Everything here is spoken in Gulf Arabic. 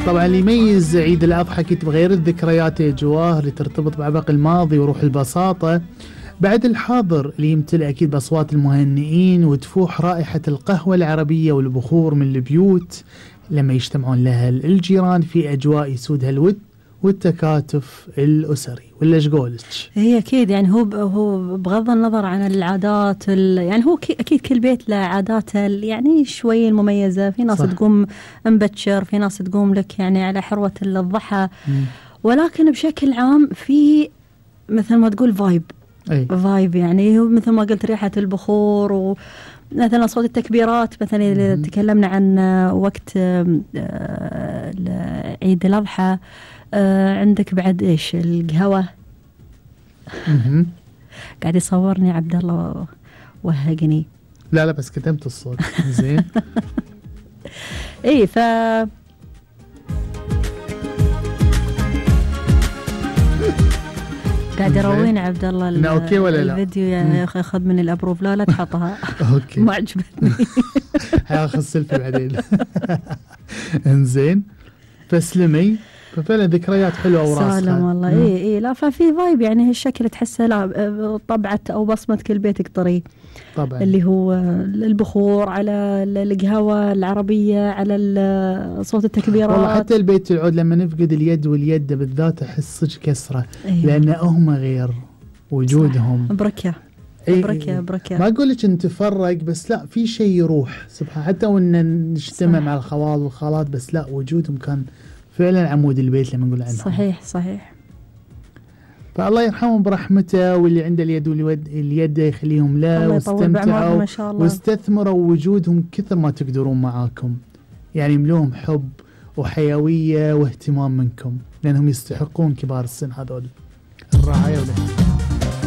طبعا اللي يميز عيد الأضحى أكيد بغير الذكريات يا جواه اللي ترتبط بعبق الماضي وروح البساطة، بعد الحاضر اللي يمتلئ أكيد بأصوات المهنئين وتفوح رائحة القهوة العربية والبخور من البيوت لما يجتمعون لها الجيران في أجواء يسودها الود والتكاتف الأسري. ولا ايش قولك؟ هي أكيد يعني هو بغض النظر عن العادات يعني هو أكيد كل بيت له عاداته يعني شوي المميزة. في ناس صح. تقوم مبكر، في ناس تقوم لك يعني على حروة الضحى، ولكن بشكل عام في مثل ما تقول فايب يعني مثل ما قلت ريحة البخور ومثلا صوت التكبيرات. مثلا إذا تكلمنا عن وقت عيد الأضحى عندك بعد إيش القهوة. قاعد يصورني عبد الله وهقني. لا بس كتمت الصوت زين. إيه قاعد يروين عبد الله اوكي ولا لا الفيديو يا اخي اخذ من الابروف. لا تحطها. اوكي ما عجبتني. هاخذ سيلفي بعدين. انزين فسلمي. ففعلا ذكريات حلوه وراسخه. سالم والله. اي لا ففي فايب يعني هالشكل تحسه لا طبعة او بصمه كل بيتك طري طبعا، اللي هو البخور على القهوة العربية على صوت التكبيرات. والله حتى البيت العود لما نفقد اليد واليد بالذات احس صدق كسره. لان هم غير وجودهم بركه. بركه ما اقول لك نتفرق بس لا في شيء يروح سبحان. حتى وان نجتمع مع الخوال والخالات بس لا وجودهم كان فعلا عمود البيت لما نقول عنهم. صحيح. فالله يرحمهم برحمته، واللي عنده اليد واليد يخليهم له، واستمتعوا واستثمروا وجودهم كثر ما تقدرون معاكم. يعني يملوهم حب وحيوية واهتمام منكم لأنهم يستحقون كبار السن هذول الرعاية والاهتمام.